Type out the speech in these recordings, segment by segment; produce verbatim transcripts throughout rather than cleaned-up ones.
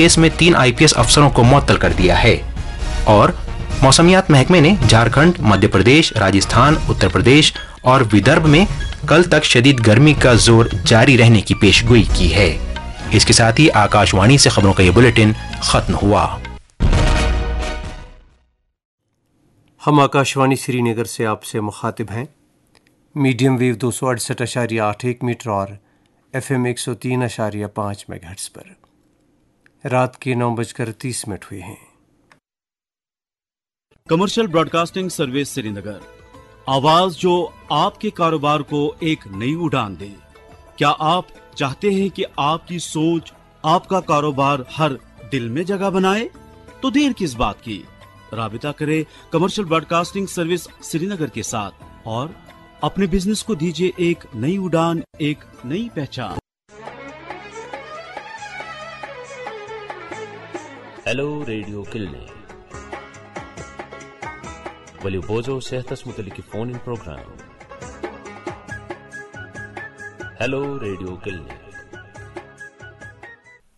Case में तीन IPS अफसरों को मुअत्तल कर दिया है। और मौसमियात महकमे ने झारखंड, मध्य प्रदेश, राजस्थान, उत्तर प्रदेश और विदर्भ में कल तक शदीद गर्मी का जोर जारी रहने की पेशगोई की है। इसके साथ ही आकाशवाणी से खबरों का ये बुलेटिन खत्म हुआ। हम आकाशवाणी श्रीनगर से आपसे मुखातिब हैं मीडियम वेव दो सौ अड़सठ आशारिया आठ एक मीटर और एफएम एक सौ तीन आशारिया पाँच मेगाहर्ट्ज पर। रात के नौ बजकर तीस मिनट हुए हैं। कमर्शियल ब्रॉडकास्टिंग सर्विस श्रीनगर, आवाज जो आपके कारोबार को एक नई उड़ान दे। क्या आप चाहते हैं कि आपकी सोच, आपका कारोबार हर दिल में जगह बनाए? तो देर किस बात की, राबिता करें कमर्शियल ब्रॉडकास्टिंग सर्विस श्रीनगर के साथ और अपने बिजनेस को दीजिए एक नई उड़ान, एक नई पहचान। ہیلو ریڈیو کلنک۔ ؤلِو بوزو صحتس متعلق فون ان پروگرام۔ ہیلو ریڈیو کلنک۔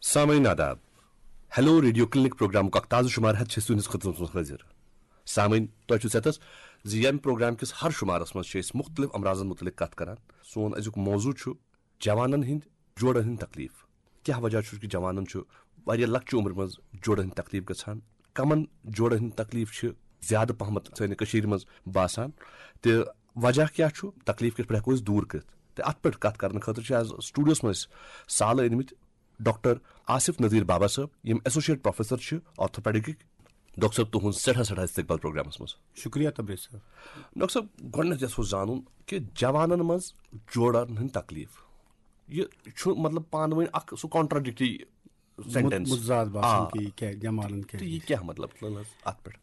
سامعین آداب۔ ہیلو ریڈیو کلنک پروگرامُک اکھ تازٕ شمارٕ ہٮ۪تھ چھِ أسۍ تُہنٛدِس خدمتس منٛز حٲضِر۔ سامعین، تۄہہِ چھُو صحتس زِ ییٚمہِ پروگرام کِس ہر شمارس منٛز چھِ أسۍ مُختٔلِف امراضن مُتعلق کتھ کران۔ سون أزیُک موضوع چھُ جوانن ہٕنٛدۍ جوڑن ہٕنٛدۍ تکلیف۔ کیٛاہ وجہ چھُ کہِ جوانن چھُ واریاہ لۄکچہِ عمرِ منٛز جوڑن ہٕنٛدۍ تکلیف گژھان؟ کمن جوڑن ہٕنٛدۍ تکلیف چھِ زیادٕ پہمتھ سانہِ کٔشیٖرِ منٛز باسان؟ تہٕ وجہ کیٛاہ چھُ؟ تکلیف کِتھ پٲٹھۍ ہٮ۪کو أسۍ دوٗر کٔرِتھ؟ تہٕ اتھ پٮ۪ٹھ کتھ کرنہٕ خٲطرٕ چھِ از سٹوڈیوس منٛز أسۍ سالہٕ أنمٕتۍ ڈاکٹر آصف نذیر بابا صٲب، یِم ایسوسیٹ پروفیسر چھِ آرتھوپیڈکٕکۍ۔ ڈاکٹر صٲب، تُہُنٛد سٮ۪ٹھاہ سٮ۪ٹھاہ استقبال پروگرامس منٛز۔ شُکریہ تبریز صٲب۔ ڈاکٹر صٲب، گۄڈٕنٮ۪تھ یژھو زانُن کہِ جوانن منٛز جوڑن ہٕنٛدۍ تکلیف، یہِ چھُ مطلب پانہٕ ؤنۍ اکھ سُہ کانٹراڈکٹری سینٹینس۔ متضاد باسان آ۔ کہِ یہِ کیٛاہ جوانن کیٛاہ تہٕ یہِ کیٛاہ مطلب؟ اتھ پٮ۪ٹھ۔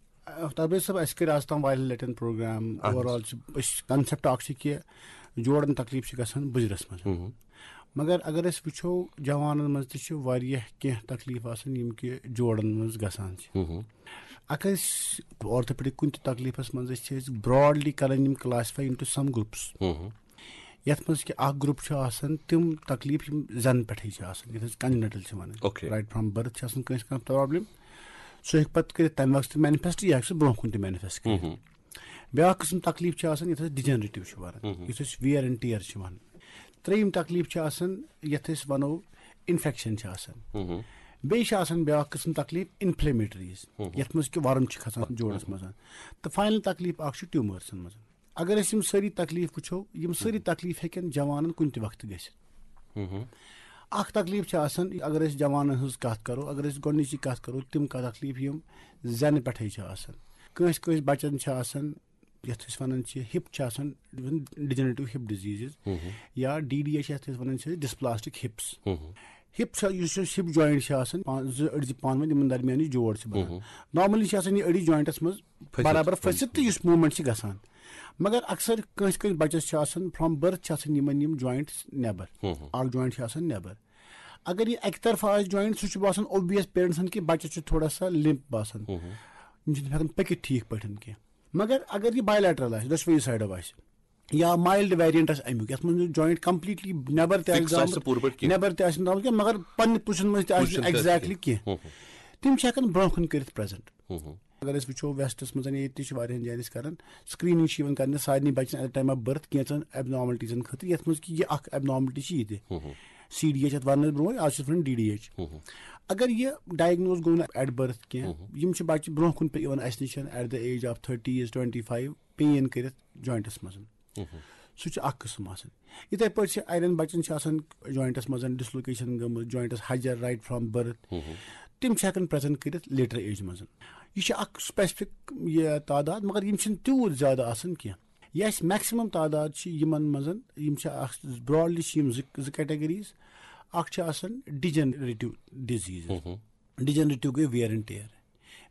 تبریز صٲب، اسہِ کٔرۍ از تام واریاہ لٹٮ۪ن پروگرام۔ اہن حظ۔ اوور آل چھِ أسۍ، کانسیپٹ اکھ چھِ کہِ جوڑن تکلیف چھِ گژھان بُزرس منٛز۔ مگر اگر أسۍ وٕچھو، جوانن منٛز تہِ چھِ واریاہ کینٛہہ تکلیف آسان یِم کہِ جوڑن منٛز گژھان چھِ۔ اگر أسۍ آرتھوپیڈک کُنہِ تہِ تکلیفس منٛز أسۍ چھِ أسۍ براڈلی کران یِم classify into some groups۔ یتھ منٛز کہِ اکھ گروپ چھُ آسان تِم تکلیف یِم زنہٕ پٮ۪ٹھٕے چھِ آسان، یتھ أسۍ کنجنٹل چھِ ونان۔ Okay۔ Right from birth چھِ آسان کٲنٛسہِ کانٛہہ پرابلم، سُہ ہیٚکہِ پتہٕ کٔرِتھ تمہِ وقتہٕ تہِ مینفیسٹ، یا ہیٚکہِ سُہ برونٛہہ کُن تہِ مینفیسٹ کٔرِتھ۔ بیاکھ قٕسم تکلیف چھِ آسان یتھ أسۍ ڈِجنریٹو چھِ ونان، یُس أسۍ ویئر اینڈ ٹیئر چھِ ونان۔ ترٛیٚیِم تکلیف چھِ آسان یتھ أسۍ ونو انفیکشن چھِ آسان۔ بیٚیہِ چھِ آسان بیاکھ قٕسم تکلیف انفلیمیٹریز، یتھ منٛز کہِ ورم چھِ کھسان جوڑس منٛز۔ تہٕ فاینل تکلیف اکھ چھُ ٹیومرسن منٛز۔ اگر أسۍ یِم سٲری تکلیف وٕچھو، یِم سٲری تکلیف ہیٚکن جوانن کُنہِ تہِ وقتہٕ گٔژھِتھ۔ اکھ تکلیف چھِ آسان، اگر أسۍ جوانن ہٕنٛز کتھ کرو، اگر أسۍ گۄڈٕنِچی کتھ کرو، تِم کتھ تکلیف یِم زنہٕ پٮ۪ٹھے چھِ آسان۔ کٲنٛسہِ کٲنٛسہِ بچن چھِ آسان، یتھ أسۍ ونان چھِ ہِپ چھِ آسان، ڈِجنریٹو ہِپ ڈِزیٖزز، یا ڈی ڈی اے چھِ یتھ أسۍ ونان چھِ ڈسپلاسٹک ہِپس۔ ہِپ چھِ، یُس یُس ہِپ جوینٹ چھِ آسان، پان-، زٕ أڈجہِ پانہٕ ؤنۍ یِمن درمیان یُس جوڑ چھِ بنان۔ نارملی چھِ آسان یہِ أڈِج جوینٹس منٛز برابر پھٔسِتھ تہٕ یُس موٗمینٹ چھِ گژھان۔ مگر اکثر کٲنٛسہِ کٲنٛسہِ بچس چھِ آسان، فرام برتھ چھِ آسان یِمن یِم جوینٹس نٮ۪بر۔ اکھ جوینٹ چھِ آسان نٮ۪بر۔ اگر یہِ اکہِ طرفہٕ آسہِ جوینٹ، سُہ چھُ باسان اوبویس پیرنٹسن کہِ بچس چھُ تھوڑا سا لِمپ باسان۔ یِم چھِنہٕ ہٮ۪کان پٔکِتھ ٹھیٖک پٲٹھۍ کینٛہہ۔ مگر اگر یہِ بایلیٹرل آسہِ، دۄشوٕے سایڈو آسہِ، یا مایلڈ ویریئنٹ آسہِ امیُک، یتھ منٛز جوینٹ کمپلیٹلی نٮ۪بر تہِ آسہِ فکس آسہِ درٛامُت، نہٕ پوٗرٕ پٲٹھۍ کینٛہہ۔ نٮ۪بر تہِ آسہِ نہٕ درٛامُت کینٛہہ، مگر پننہِ پوزیشن منٛز تہِ آسہِ پوزیشن نہٕ تہِ آسہِ ایگزیکٹلی کینٛہہ۔ تِم چھِ ہٮ۪کان برونٛہہ کُن کٔرِتھ پریزنٹ۔ اگر أسۍ وٕچھو ویسٹس منٛز، ییٚتہِ تہِ چھِ واریاہن جاین أسۍ کران، سکریننگ چھِ یِوان کرنہٕ سارنٕے بچن ایٹ ٹایم آف برتھ کینٛژن ایبنارملٹیزن خٲطرٕ، یتھ منٛز کہِ یہِ اکھ ایبنارملٹی چھِ یہِ تہِ۔ سی ڈی ایچ یتھ وننہٕ برونٛہہ، آز چھِ أسۍ ونان ڈی ڈی ایچ۔ اگر یہِ ڈائگنوز گوٚو نہٕ ایٹ برتھ کینٛہہ، یِم چھِ بچہِ برونٛہہ کُن پہ-، یِوان اسہِ نِش at the age of thirty as twenty five pain کٔرِتھ جوینٹس منٛز۔ سُہ چھُ اکھ قٕسم آسان۔ یِتھے پٲٹھۍ چھِ اڑٮ۪ن بچن چھِ آسان جوینٹس منٛز ڈسلوکیشن گٔمٕژ، جوینٹس ہجر رائٹ فرام برتھ۔ تِم چھِ ہٮ۪کان پریزنٹ کٔرِتھ لیٹر ایج منٛز۔ یہِ چھِ اکھ سپیسفک یہِ تعداد، مگر یِم چھِنہٕ تیوٗت زیادٕ آسان کینٛہہ۔ یہِ اَسہِ میکسِمم تعداد چھِ یِمن منٛز، یِم چھِ اکھ براڈلی چھِ یِم زٕ، زٕ کیٹیگریز۔ اکھ چھِ آسان ڈِجنریٹو ڈِزیٖز۔ ڈِجنریٹو گٔے ware and tear.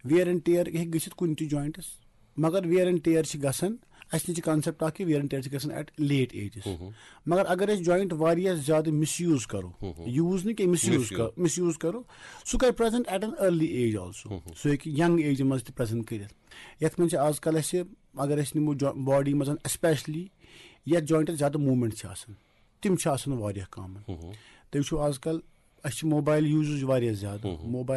Ware and tear ہیٚکہِ گٔژھِتھ کُنہِ تہِ جوینٹس، مگر ویئر اینڈ ٹیئر چھِ گژھان، اَسہِ نِش چھِ کانسیپٹ اکھ کہِ ویئر اینڈ ٹیئر چھِ گژھان ایٹ لیٹ ایجز۔ مگر اگر أسۍ جوینٹ واریاہ زیادٕ مس یوٗز کرو، یوٗز نہٕ کینٛہہ، مس یوٗز کرو، مس یوٗز کرو، سُہ کرِ present at an early age also. سُہ ہیٚکہِ ینگ ایجہِ منٛز تہِ پریزنٹ کٔرِتھ۔ یتھ منٛز چھِ آز کل اَسہِ، اگر أسۍ نِمو باڈی منٛز اسپیشلی یتھ جوینٹس زیادٕ موٗمینٹ چھِ آسان، تِم چھِ آسان واریاہ کامن۔ تُہۍ وٕچھِو آز کل اَسہِ چھِ موبایل یوٗزز واریاہ زیادٕ۔ موبایل